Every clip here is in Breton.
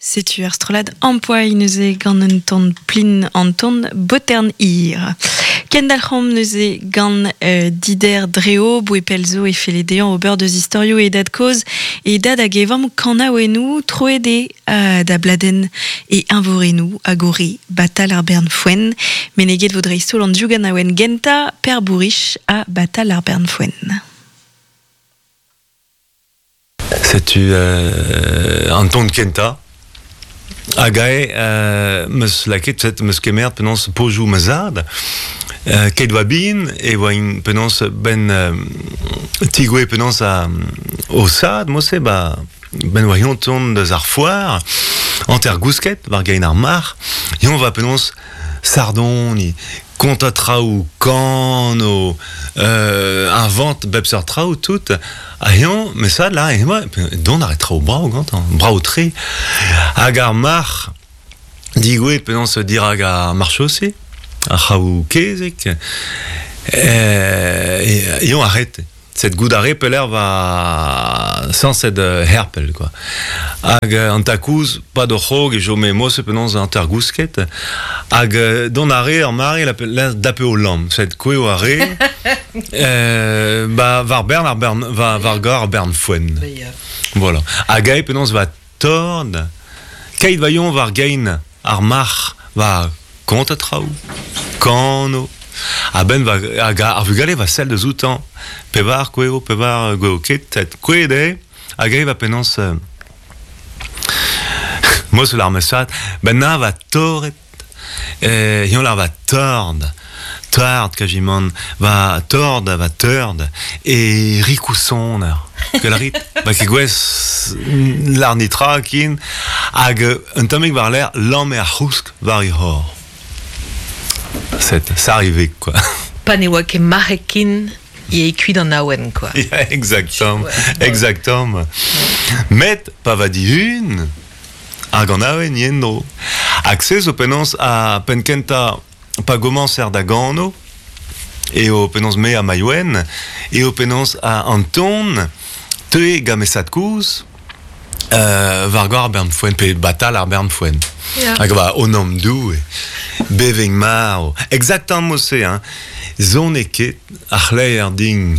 Setu ar strollad Ampoai neuze gant un ton plin an ton Botern Hir. Kendalc'homp neuze gant euh, Dider Dreo, boe pell zo e felle dezhañ ober deus istorioù e dad-kozh e dad hag e vamm kanaouennoù troet eo euh, da bladenn e eñvorennoù hag o re Batal ar bern foenn. Meneget vo dreist-holl an div ganaouenn gentañ, Per Bourich ha Batal ar bern foenn. Setu an ton kentañ. Hag ae 'meus lakaet, set 'meus kemeret penaos pozioù ma zad. Keit oa bihan e oaint penaos 'benn tigouezh penaos o sad mod-se 'ba 'benn oa eñ tont deus ar foar, hanter gousket war gein ar marc'h. Eñ 'oa penaos sardoniñ, kontañ traoù, kano, invent bep seurt traoù tout. Ha eñ, met ça là, eñ dont a ra traoù brav gantañ, brav-tre. Hag ar marc'h digouezhet penaos dirak ar marchose, ar c'hraou kezeg, eñ arrête. Set goût a re pelec'h va sañset herpel quoi. Hag an takouz, pad o c'hrog e chome mose penaos hanter-gousket. Hag dont a re ar mare la, la dape o lamm. Set koueo a re ba war bern ar bern war, war gar ar bern foenn. Voilà. Hag ae penaos va tord keit va yon war gein ar marc'h war kontañ traoù, kano, a-benn va hag ar vugale va sell deus outañ, pevar gweo, pevar gweo ket, kouezhet eo, hag eñ va penaos Mosul ar mesad, ben na va torret, eñ lar va tord, tard quasiment, va tord, va teurd, e rikousoner. Kel a rit, va ket gwez lar nitra ken, hag un tammig war-lerc'h lamme ar c'housk war e c'hor. C'est ça arrivait quoi. Pa ne oa ket marc'heg ken e kuit an awen quoi. Yeah, exactement, ouais. exactement. Met pa va dihun hag an awen yen-dro. Hag se zo penaos a penn kentañ pa gomañser da gano eo penaos me ha Maïwenn eo penaos a an ton teue gant mesad kozh war goar ar bern foenn pe batal ar bern foenn. Yeah. Hag ba o nom Doue beving marv. Exactement se hein. Zon e ket ar c'hleier din.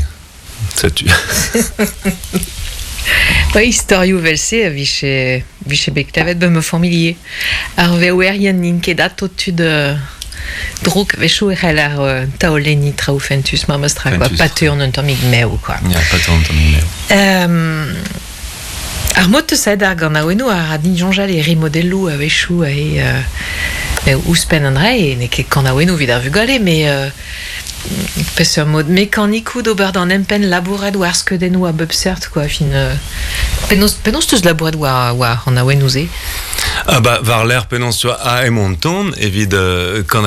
Setu. Ba istorioù 'vel-se a vije, vije bet klevet ba ma familh ivez. Ar veouerien n'int ket ato tud drouk. A-wechoù e c'heller taolenniñ traoù fentus memes tra, quoi. Pa teuont un tammig mev, quoi. Ya, pa teuont un tammig mev. Ar mod 'teus aet ar ganaouennoù a ra din soñjal e remodelloù a-wechoù aze ouzhpenn an dra-se n'eo ket kanaouennoù evit ar vugale met Peseurt mod mekanikoù d'ober d'an empenn labourat war skeudennoù a bep seurt quoi fin penaos penaos 'teus labourat war war an awennoù-se? Ah bah war-lerc'h penaos tu vois ah emañ an ton evit kan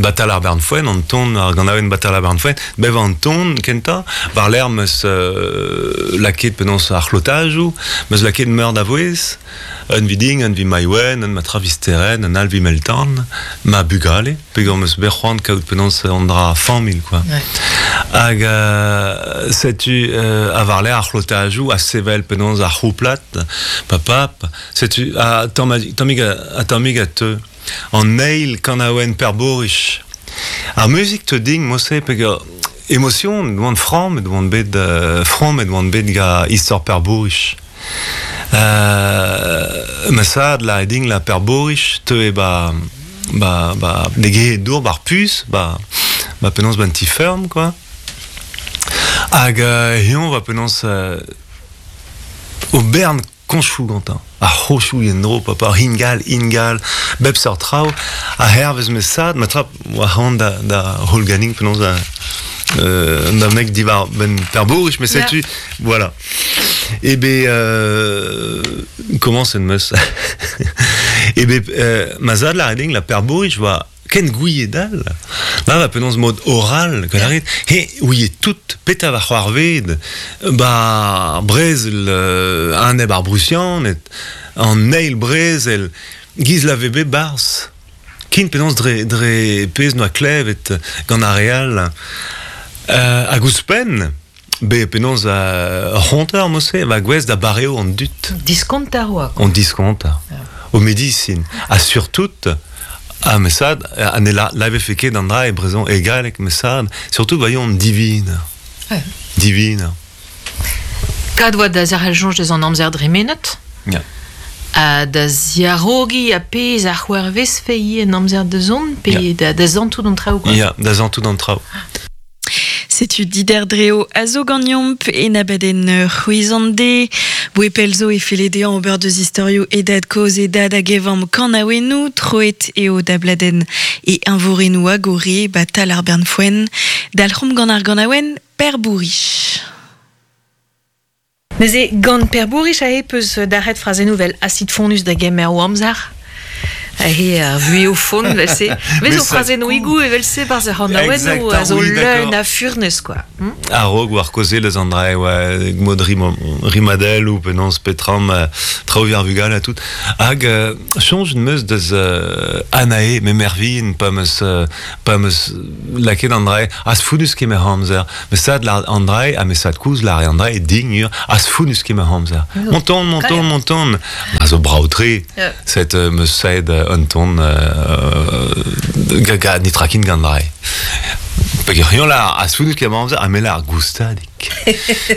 Batal ar bern foenn an ton ar ganaouenn Batal ar bern foenn bevañ an ton kentañ war-lerc'h 'meus lakaet penaos ar c'hlotajoù 'meus lakaet meur da vouezh Un viding, un vi Maïwenn, un ma Travisteren, un all vi Meltan, ma bugale, peogwir 'm eus bet c'hoant kaout penaos an dra familh quoi. Ouais. Hag setu ha war-lerc'h ar c'hlotajoù a sevel penaos ar c'houplad, papap, setu ha tammig ha tammig a teu. An eil kanaouenn Perborich. Ar muzik teu din mod-se peogwir emotion oan frammet oan bet frammet oan bet ga istor Perborich. Ma sad la din la Perborich teue ba ba ba degouezhet dour ba'r puñs ba ba penaos ba'n ti-feurm quoi. Hag eñ va penaos o bern koñchoù gantañ. Ar c'hoñchoù en-dro, papa, ingal, ingal, bep seurt traoù. Ha hervez ma sad, ma tra oa c'hoant da, da hollganin penaos da, da mek diwar benn Perbourich, mais setu, voilà. E be, komañset 'meus. E be, ma zad lâret din la Perbourich oa ken gouiet all. Ma va penaos mod oral, gant a rit, he ouie tout petra va c'hoarved, ba brezel aneb ar Brusianed, an eil brezel, giz la ve bet 'barzh. Ken penaos dre, dre pezh noa klevet gant ar re all. Hag ouzhpenn, Be penaos ur c'honter mo-se va gouez da bareo an dud. Diskonter oa. An diskonter. O medisin. Ha surtout, a mesad, a ne la, la vefe ket an dra e brezon e galleg mesad, surtout voyons divine. Ouais. Divine. Kad oa da zerc'hel soñj deus an amzer dremenet. Ya. Ha da ziarogiñ a pezh a c'hoarvezfe ivez en amzer da zont, pe Ya. da, da zantout an traoù, quoi. Ya, da zantout an traoù. Setu Dider Dreo a zo ganeomp en abadenn c'hwezan-de. Boe pell zo e felle dezhañ ober deus istorioù e dad kozh e dad hag e vamm kanaouennoù, troet eo da bladenn e eñvorennoù hag o re ba tal ar bern foenn. Dalc'homp gant ar ganaouenn Per Bourich. Neuze, gant Per Bourich aze peus dalc'het frazennoù vel acid fonnus da gemer o amzer. Aze ar vuhez o font, evel-se. Vez o frazennoùigoù evel-se barzh ar c'hanaouennoù a zo leun a furnez, quoi. Hmm? A-raok war kaozeal eus an dra e oa mod rimadell ou penaos petram traoù ar vugale ha tout. Hag soñj 'm eus deus Anae, me Mervin, pa 'm eus pa 'm eus lakaet an dra az founnus kemer amzer. Mesad lar an dra ha mesad koulz lar an dra dign ur az founnus kemer amzer. Monton, monton, monton. A zo brav-tre. Set meus saet un ton ga netra kin gant dra. Peogwir lar az founnus kemer amzer ha me lar goustadik.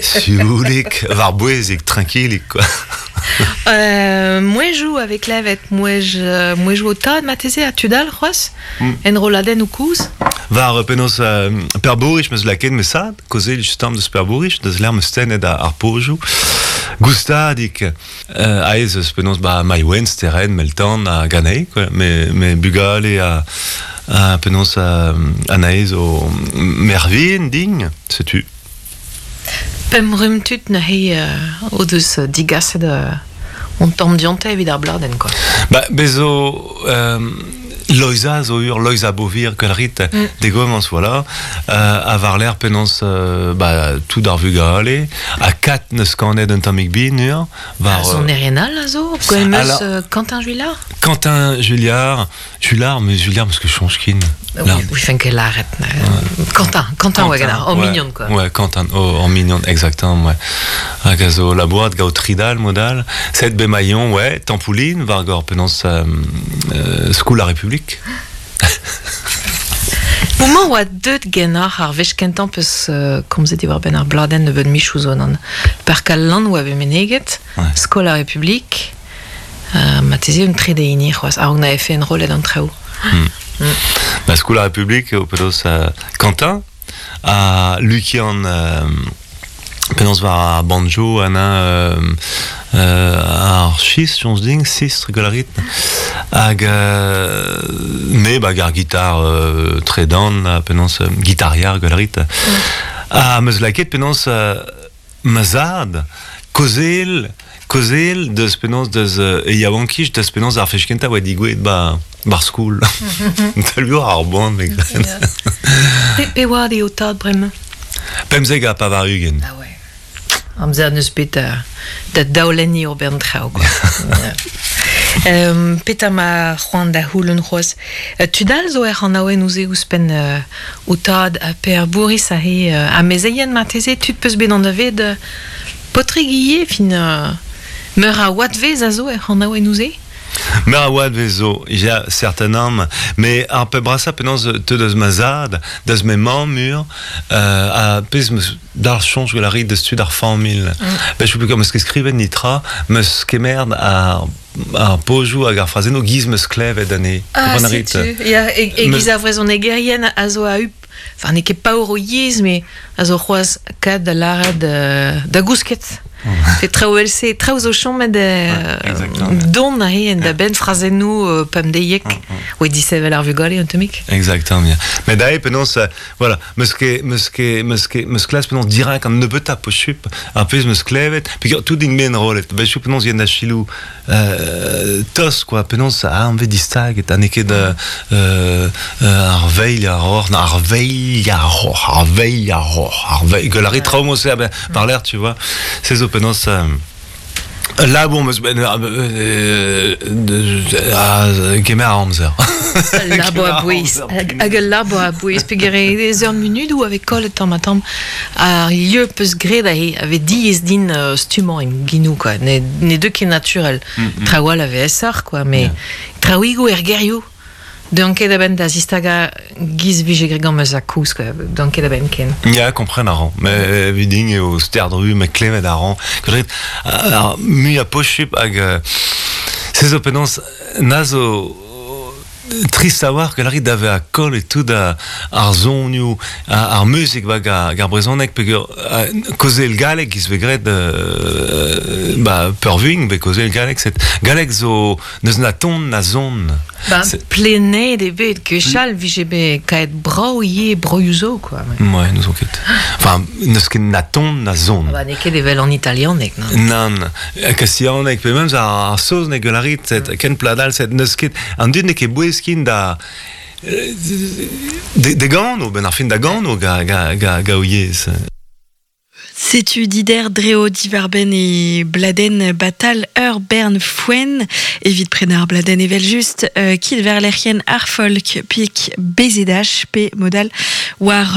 Sioulik, war-bouezik, trankilik quoi. Mouezhioù a vez klevet, mouezh, mouezhioù o tad marteze ha tud all c'hoazh, enrolladennoù kozh. War penaos Per Bourich 'meus lakaet ma sad, kaozeal just deus Per Bourich, deus lec'h 'meus tennet ar pozioù. Goustadik, aes eus penaos ba Maïwenn, Sterenn, Meltan ha Ganei, quoi. Me, me bugale ha, ha penaos Anaez o Mervin din, setu. Pemp rumm tud neuze o deus digaset on tamm dionte evit ar bladenn quoi. Ba, bez zo Loiza zo ur Loiza Bovir gwell rit degomañs voilà ha war-lerc'h penaos ba tout ar vugale ha kat neus kanet un tammig bin ur war sonerien all a zo gwell meus Quentin Juillard Quentin Julliard Julliard mais Julliard parce que soñj kin. Oui, oui, fen ket lâret. Quentin, Quentin oa ganeoc'h, en mignon quoi. Ouais, Quentin, oh, en mignon, exactement, ouais. Hag a zo labourat gaout Tridal, modal. Set Bemaillon, ouais, Tampouline, war gor penaos Skoul ar Republik. Homañ oa deut ganeoc'h ar wech kentañ peus komzet diwar-benn ar bladenn nebeut michoù zo nan. Park al Lann oa bet meneget, Skol ar Republik, marteze un trede hini c'hoazh, a-raok na efe enrollet an traoù. Ba Skol ar Republik eo penaos Quentin ha Lukian penaos war ar banjo ana ar sis soñj din sistr gwell a rit hag me bag ar gitar tredan penaos gitarier gwell a rit ha 'm eus lakaet penaos Ma zad, kaozeal, kaozeal deus penaos deus e yaouankiz, deus penaos ar fech kentañ oa digouezhet ba ba'r skol. Talvour ar boan, me gred. Pe oad eo tad bremañ? 95. Ah ouais. Amzer n'eus bet da, da daolenniñ ur bern traoù, quoi. Petra ma c'hoant da c'houlenn c'hoazh? Tud all zo er c'hanaouennoù-se ouzhpenn ho tad ha Per Bourris aze amezeien marteze, tud peus bet anavezet paotrig ivez, fin meur a oadvezh a zo er c'hanaouennoù-se? Meur a oadvezh zo, ya, certainement. Mais ar pep brasañ penaos teu deus ma zad, deus ma mamm ur, ha pezh 'meus d'ar soñj gwell a rit deus tud ar familh. Ben, je sais plus 'meus ket skrivet netra, 'meus kemeret ar ar pozioù hag ar frazennoù giz 'meus klevet anezhe. Ah, setu, ya, e-giz ar vrezhonegerien a zo a-up, enfin n'eo ket paour o yezh, met a zo c'hoazh kad da lâret da gousket. Pe traoù evel-se, traoù zo chomet don aze en da benn frazennoù pemdeiek, oe disevel ar vugale un tammig. Exactement, ya. Met aze penaos, voilà, 'meus ket, 'meus ket, 'meus ket, 'meus klask penaos dirak an nebeutañ posupl ar pezh 'meus klevet, peogwir tout int bet enrollet. Ben, je penaos yen da chilou tost quoi, penaos a anvet distaget, ha n'eo ket ar veilh ar roc'h, ar veilh ar roc'h, ar veilh ar roc'h, ar veilh, gwell a rit traoù mod-se, ah ben, par l'air, tu vois. Se zo penaos ul labour 'meus bet kemer amzer. Labo a bouez. Hag ul labo a bouez. Peogwir ez ur munudoù a vez kollet tamm ha tamm. Ar lieu peus graet aze a vez diaes din stummañ em genoù quoi. Ne, ne deu ket naturel. Traoù all a vez aesoc'h quoi, mais traoùigoù er gerioù deuan ket a-benn da zistagañ giz vije graet gant ma zad-kozh quoi. Deuan ket a-benn ken. Ya, kompren a ran. Mais evit din eo sterdru, met klevet a ran. Gret, ar muiañ posupl hag se zo penaos na zo trist a-walc'h gant a rit da vezañ kollet tout ar sonioù, ar muzik hag ar brezhoneg peogwir kaozeal galleg giz vez graet ba peurvuiñ vez kaozeal galleg set galleg zo n'eus na ton na son. Ba plenaet eo bet gwechall vije bet kaet brav ivez broioù zo quoi. Ouais, n'ouzon ket. Enfin, n'eus ket na ton na son. Ba n'eo ket evel an italianeg non. Nann, kastillaneg pe memes ar saozneg gant a rit, set ken pladal set n'eus ket an dud n'eo ket bouez kin da de gano, ben ar fin da gano ga, ga, ga, ga o yezh. Setu Dider Dreo diwar-benn e bladenn Batal ur bern foenn. Evit prenañ ar bladenn evel-just, kit war lec'hienn ar folk pik BZH pe modal war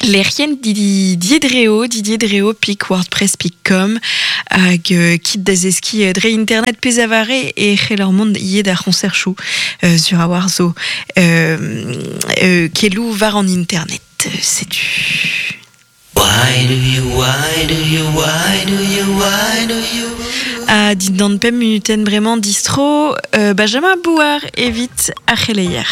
lec'hienn Didier Dreo, Didier Dreo pik wordpress pik com hag kit da zeskiñ dre internet pezh a vare e c'heller mont ivez d'ar c'hoñserchoù sur a-walc'h zo keloù war an internet. Setu. Why do you, why do you, why do you, why do you Ha dindan pemp munutenn bremañ distro Benjamin Bouard evit ar c'heleier.